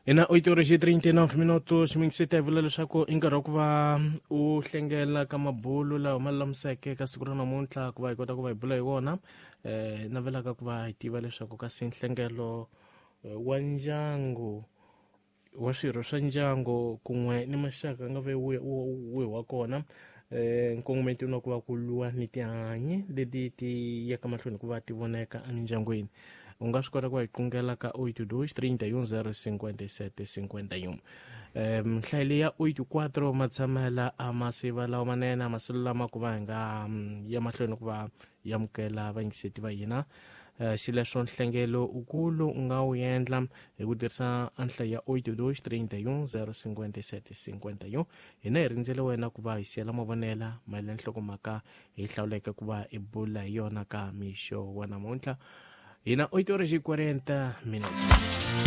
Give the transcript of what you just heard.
Hi na 8 horas e 39 minutos mingiseti, hi vula leswaku i nkarhi wa ku va u hlengela ka mabulu lawa ma lulamiseke ka siku ra namuntlha ku va hi kota ku va hi bula hi wona. Navelaka ku va hi tiva leswaku kasi nhlengelo wa ndyangu wa swirho swa ndyangu kun'we ni maxaka nga ve wihi wa kona, nkongometo na ku va ku lwa ni tihanyi leti ti yaka mahlweni ku va ti voneka emindyangwini. U nga swi kota ku va hi qungela ka 82 31 057 51. Nhlayo leyi ya 84 matshamela a masiva lawa manene a masilu lama ku va hi nga ya mahlweni ku va yamukela vayingiseti va hina. Xileswo nhlengelo ukulu u nga wu endla hi ku tirhisa nhlayo ya 82 31 057 51. Hina hi rindzele wena ku va hi siyela mavonela mayelana nhlokomhaka hi hlawuleke ku va hi bula hi yona ka mixo wa namuntlha. Hina 8 horas e 40 minutos.